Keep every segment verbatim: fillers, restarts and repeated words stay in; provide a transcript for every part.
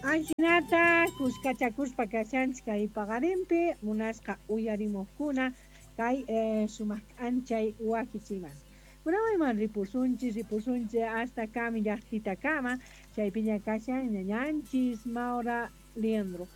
Ajinata kuskachakuspa kashanchik kay paqarinpi munasqa uyarimuqkuna kay eh, sumaq k'anchay wakichiman. Kunanman ripusunchis ripusunchis hasta kami llaqtitakama chaypiña kashan ñañanchis Maura Liendro.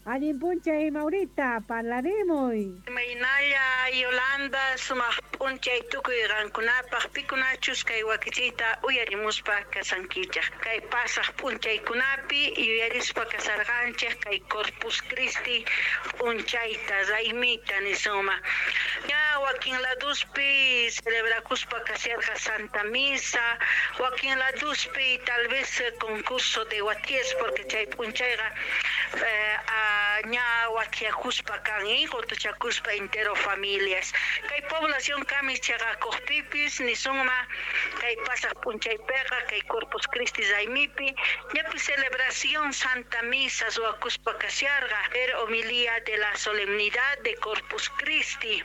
Allin p'unchay Maurita, parlarimuy. Imaynalla Yolanda sumaq p'unchay tukuy qankunapaq pikunachus kay wakichiyta uyarimuspa kasankichaq. Kay pasaq p'unchaykunapi yuyarispa kasarqanchik kay Corpus Christi p'unchayta raymita nisuma. Ña wakin laduspi celebrakuspa kasharqa Santa Misa, wakin laduspi tal vez concurso de waties porque chay p'unchayqa eh, ña watiakuspa kan qutuchakuspa entero familias. Kay población kami chaqakuqpipis nisuma kay pasaq p'unchaypiqa kay Corpus Christi raymipi ñapi celebración Santa Misa ruwakuspa kasharqa er homilía de la solemnidad de Corpus Christi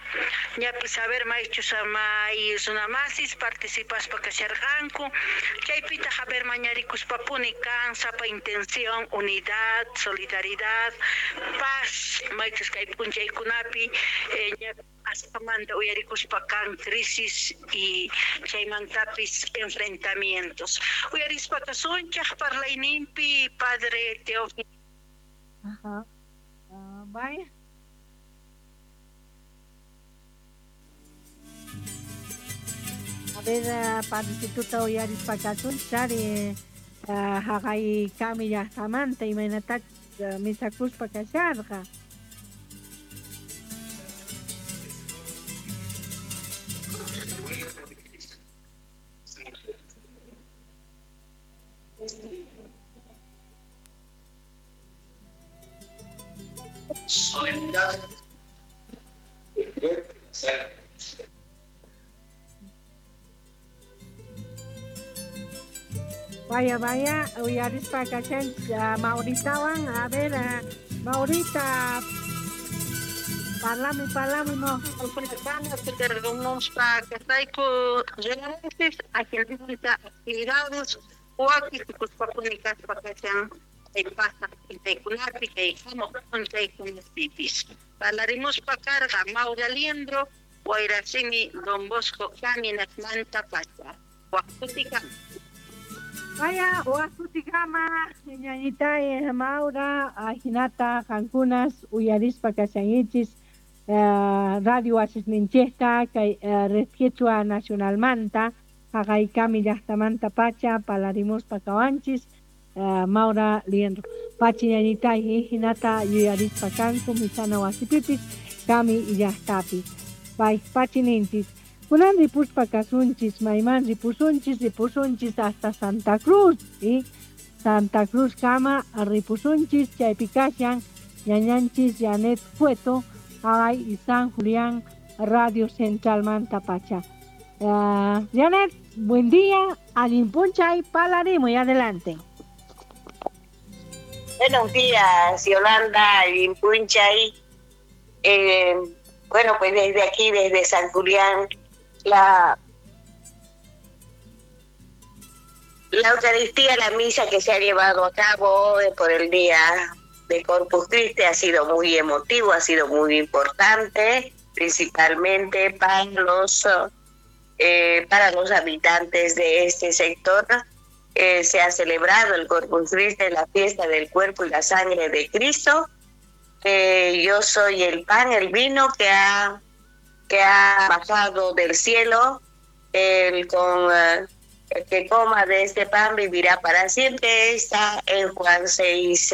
ñapi saber maychus may runamasis participaspa kasharqanku chaypitaq haber mañarikuspapuni kan sapa intención unidad solidaridad paz maychus kay p'unchaykunapi eh, asqamanta uyarikuspa kan crisis y chaymantapis enfrentamientos uyarispa kasunchaq parlayninpi padre Teófilo. Ajá. Uh, bye. A ver, uh, padrecituta uyarispa kasunchis ari uh, haqay kami llaqtamanta imaynatachus uh, misakuspa kasharqa. Vaya, vaya, uyarispa kashanchis uh, Mauritawan, a ver, uh, Maurita, parlami, parlami, no. Actividades waki kaspa kashan kay pasaq p'unchaykunapi kay hamuq p'unchaykunapipis. Parlarimuspa karqa Maura Liendro, Wayrasimi Don Bosco Caminasmanta pacha. Waqtutikama. Vaya, waqtutikama, ñañita Maura, ajinata qankunas uyarispa kashankichis uh, radio wasisninchikta kay uh, Red Quechua Nacionalmanta haqay kami llaqtamanta pacha parlarimuspa kawanchis uh, Maura Liendro. Pachi ñañita hinata yuyarispa kanku misana wasipipis kami llaqtapi. Pay pachi ninchis. Kunan ripuspa kasunchis, mayman ripusunchis, ripusunchis hasta Santa Cruz, ¿sí? Santa Cruz kama ripusunchis, chaypi kashan ñañanchis Janet Cueto, haqay y San Julián Radio Central manta pacha. Uh, Janet, buen día, allin p'unchay, y adelante. Buenos días, Yolanda, allin p'unchay. Eh, bueno, pues desde aquí, desde San Julián, la, la Eucaristía, la misa que se ha llevado a cabo por el día de Corpus Christi ha sido muy emotivo, ha sido muy importante, principalmente para los, eh, para los habitantes de este sector. Eh, se ha celebrado el Corpus Christi, la fiesta del cuerpo y la sangre de Cristo. Eh, yo soy el pan, el vino que ha, que ha bajado del cielo. El, con, eh, el que coma de este pan vivirá para siempre. Está en Juan seis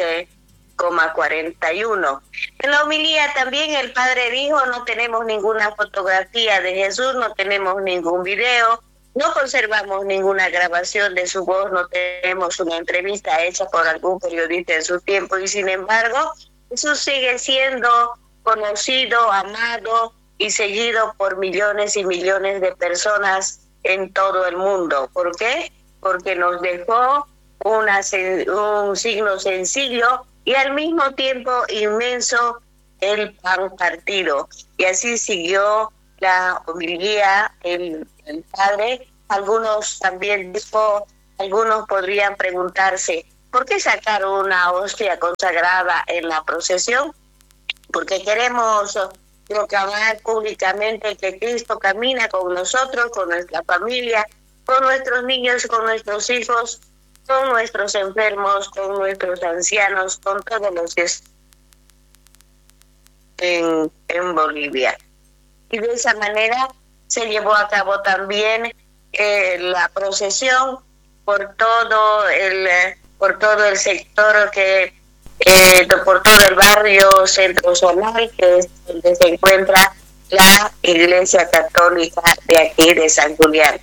coma cuarenta y uno. En la homilía también el padre dijo: no tenemos ninguna fotografía de Jesús, no tenemos ningún video, no conservamos ninguna grabación de su voz, no tenemos una entrevista hecha por algún periodista en su tiempo, y sin embargo Jesús sigue siendo conocido, amado y seguido por millones y millones de personas en todo el mundo. ¿Por qué? Porque nos dejó una, un signo sencillo y al mismo tiempo inmenso, el pan partido. Y así siguió la homilía el, el padre. Algunos también dijo, algunos podrían preguntarse, ¿Por qué sacar una hostia consagrada en la procesión? Porque queremos proclamar públicamente que Cristo camina con nosotros, con nuestra familia, con nuestros niños, con nuestros hijos, con nuestros enfermos, con nuestros ancianos, con todos los que están en, en Bolivia. Y de esa manera se llevó a cabo también eh, la procesión por todo el por todo el sector que eh, por todo el barrio Centro Zonal, que es donde se encuentra la Iglesia Católica de aquí de San Julián.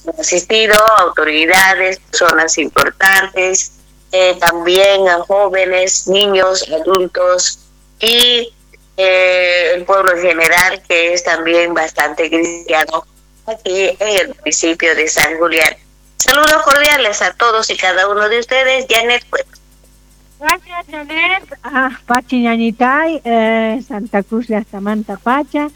Han asistido autoridades, personas importantes, eh, también a jóvenes, niños, adultos y eh, el pueblo en general, que es también bastante cristiano aquí en el municipio de San Julián. Saludos cordiales a todos y cada uno de ustedes. Janet Cueto. Gracias, Janet. Ah, Pachi Ñañitay, eh, Santa Cruz de Samanta Pacha,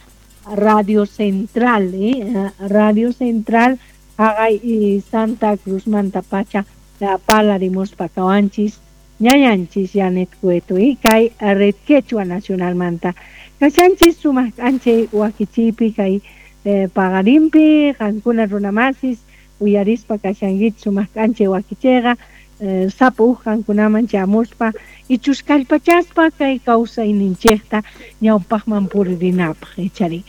Radio Central, eh, Radio Central, Agay y Santa Cruz Manta Pacha, la pala de Mospacawanchis, Ñañanchis, Janet Cueto, y Kay Red Quechua Nacional Manta. Kachanchis, sumaq anche wakichipi, kay eh, pagarimpi, qankuna runamasis, uyarispa kashankichis sumaq k'anchay wakichiyqa, eh, sapa uj qankunaman chamuspa ichus kallpachaspa kay kawsayninchikta ñawpaqman puririnapaq ichari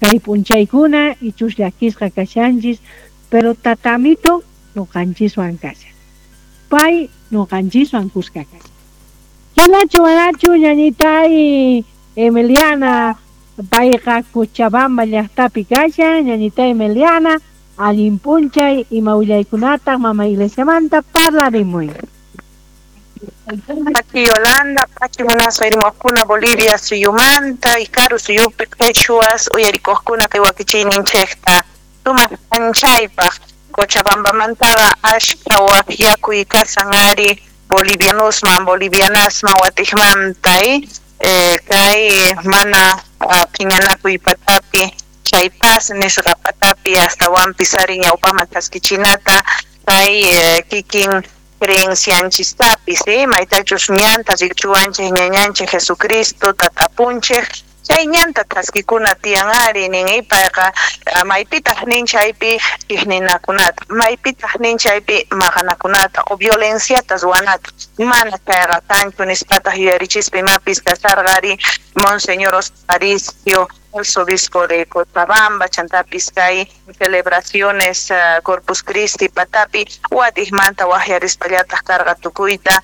kay p'unchaykuna ichus llakisqa kashanchis, pero tatamito nuqanchiswan kashan, pay nuqanchiswan kuska kashan. Chanachu manachu ñañitay Emiliana, payqa Cochabamba llaqtapi kashan. Ñañitay Emiliana, allin p'unchay, ima willaykunataq mama iglesiamanta parlarimuy. Pachi Yolanda, Pachi munasqa irmaqkuna Bolivia suyumanta, Ikaru suyupi quechuas uyarikuqkuna kay wakichiyninchikta sumaq p'unchaypaq Cochabambamantaqa ashka waqyakuy kasan ari bolivianosman bolivianasman watiqmanta eh, kay mana phiñanakuy patapi chay paz nisqa patapi astawanpis ari ñawpaman chaskichinata kay eh, kikin creencianchistapis eh, maytachus ñanta rikchuwanchik ñañanchik Jesucristo tatapunchik chay ñanta thaskikuna tiyan ari nin payqa maypitaq nin chaypi chiqninakunata maypitaq nin chaypi maqanakunata o violenciata ruwanata mana chayqa kanchu nispataq yuyarichispa imapis kasarqa ari Monseñor Aparicio, arzobispo de Cochabamba, chantapis kay celebraciones uh, Corpus Christi patapi watiqmanta waqyarispallataq karqa tukuyta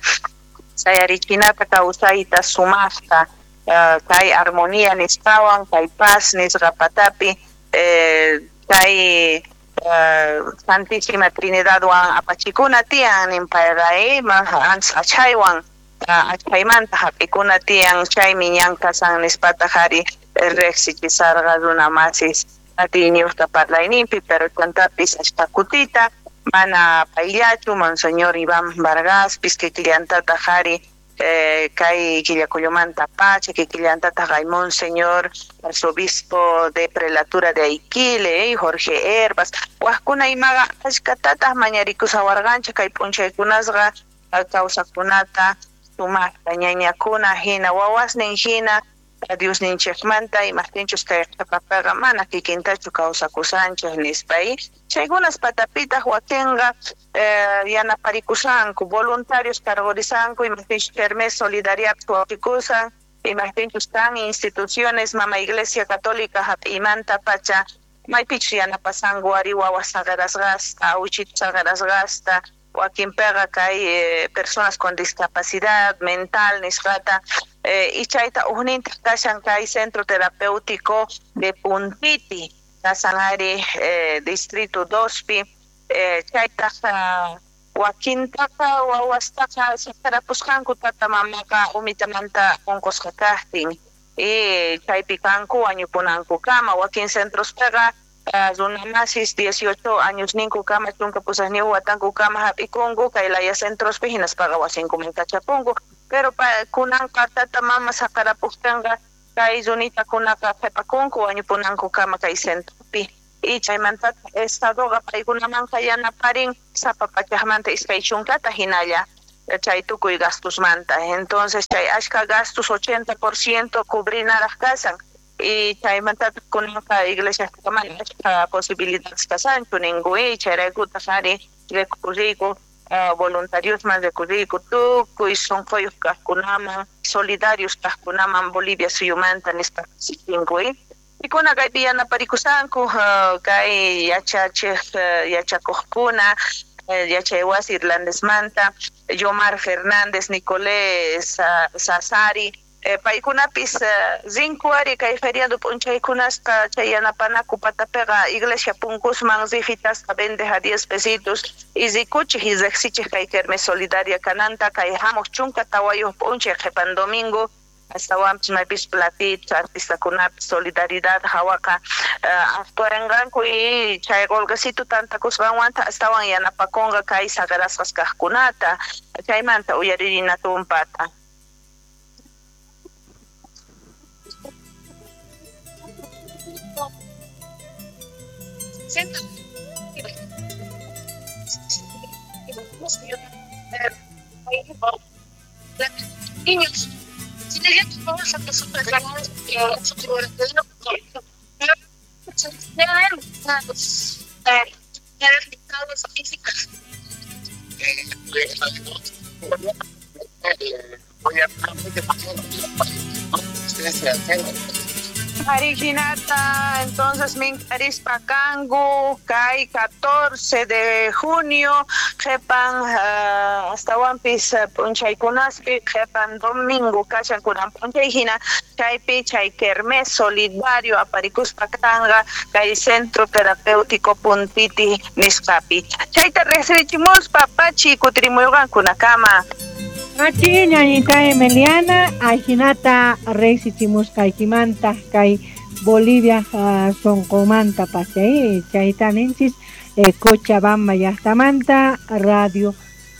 sayarichinata kawsayta sumaqta uh, kay armonía nispawan kay paz nisqa patapi eh, kay uh, Santísima Trinidadwan apachikuna tiyan ninpayqa eh, achhaywan achaymanta hap'ikuna tiyan chaymi ñan kasan nispataq ari riqsichisarqa runa masis atiyniyuqta parlayninpi, pero chantapis ashka kutita mana payllachu Monseñor Iván Vargaspis kikillantataq ari eh, kay Quillacollomanta pacha kikillantataq hay Monseñor arzobispo de prelatura de Aiquile eh, Jorge Herbas waqkuna imaqa ashkatataq mañarikusawarqanchik kay p'unchaykunasqa kawsakunata sumaqta ñañakuna hina wawasnin hina Diosninchikmanta imaqtinchus kay qhipapiqa mana kikintachu kawsakusanchik nispa chaykunas patapitaq wakinqa eh, yanaparikushanku voluntarios cargorisanku imaqtinchus kermés solidariapi waqikusan imaqtinchus kan instituciones mama Iglesia Católica hap'imanta pacha maypichus yanapasanku ari wawas saqerasqasta awchitu saqerasqasta wakinpiqa kay eh, personas con discapacidad mental nisqata eh, y chayta ujnintaq kashan kay centro terapéutico de Puntiti kasan ari eh, distrito dospi eh, chaytaq uh, wakintaqa wawastaqa saqerapusqanku tata mamaqa umitamanta unqusqa kaqtin y chaypi kanku wañupunankukama wakin centrospiqa Uh, runamasis dieciocho años ninku kama chunka pusaqniyuq watanku kama hap'ikunku kay laya centrospi hinaspaqa wasinkuman kachapunku pero pa, kunanqa tata mama saqerapuptinqa kay runitakunaqa qhipakunku wañupunanku kama kay centropi y chaymantata estadoqa paykunamanqa yanaparin sapa pachaqmanta iskay chunkata hinalla Chay tukuy gastusmanta. Entonces chay ashka gastos ochenta por ciento cubrinaraq kasan. Y chaymantataq kunanqa iglesia mana ashka posibilidades kasanchu ninkuy, chayraykutaq ari recurriyku uh, voluntariosman recurriyku tukuy sunquyuq kaqkunaman, solidarios kaqkunaman Bolivia suyumanta nispa tinkuy. Pikuna kaypi yanaparikusqanku uh, kay yachachiq uh, yachakuqkuna uh, yachaywasi irlandesmanta Yomar Fernández, Nicolés Sasari, eh, paykunapis uh, rinku ari kay feriado p'unchaykunasqa chay yanapanaku patapiqa iglesia punkusman rifitasqa vende a diez pesitos y rikuchik y riqsichik kay kermes solidaria kananta kay hamuq chunka tawayuq p'unchay qhipan domingo astawanpis maypis platitos artistakunapis solidaridad hawaqa uh, actuaranqanku y chay qolqesitu tantakusqanwanta astawan yanapakunqa kay saqerasqas kaqkunata chaymanta uyaririna tumpata. Niños, Arijinata, entonces minkarispa kangu, kay catorce de junio, qhipan uh, astawanpis p'unchaykunaspi, qhipan domingo kashan kunan p'unchay hina, chaypi chay kermés solidario aparikuspa kanqa kay Centro Terapéutico Puntiti nisqapi. Chayta riqsirichimuspa pachi kutirimuyqankunakama. Achi ñañita Emiliana, ajinata riqsichimusqaykimanta kay Bolivia uh, sonqomanta pachay chayta ninchis eh, Cochabamba llaqtamanta Radio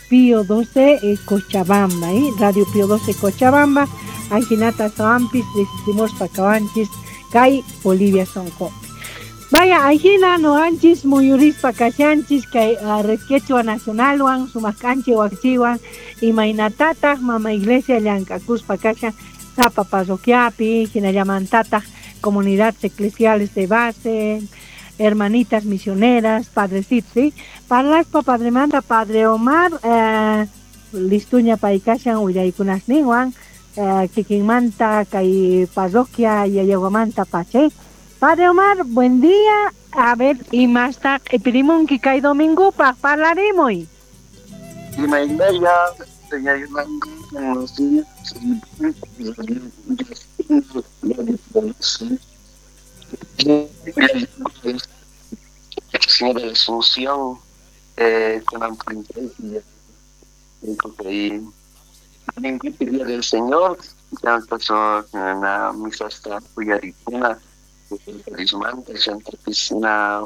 Pío doce eh, Cochabamba, eh, Radio Pío doce Cochabamba, ajinata sawampis riqsichimuspa kawanchis kay Bolivia sonqopi. Vaya, ajina noqanchis muyurispa kashanchis kay uh, Red Quechua Nacionalwan sumaq k'anchi waqchiwan imaynatataq mama iglesia llank'akuspa kashan sapa parroquiapi hinallamantataq comunidades eclesiales de base, hermanitas misioneras, padrecitos, ¿sí? Parlaspa padremanta padre Omar, eh, listuña paykashan willaykunasninwan, eh, kikinmanta kay parroquia yayaguamanta pachay. Padre Omar, buen día. A ver, imasta q'ipirimunki kay domingopaq parlarimuy. Imaynalla, señora Yolanda, buenos días. Señora Asunción, eh, con el día del Señor, ya pasó la misa hasta Puyaricuna, Santa Piscina,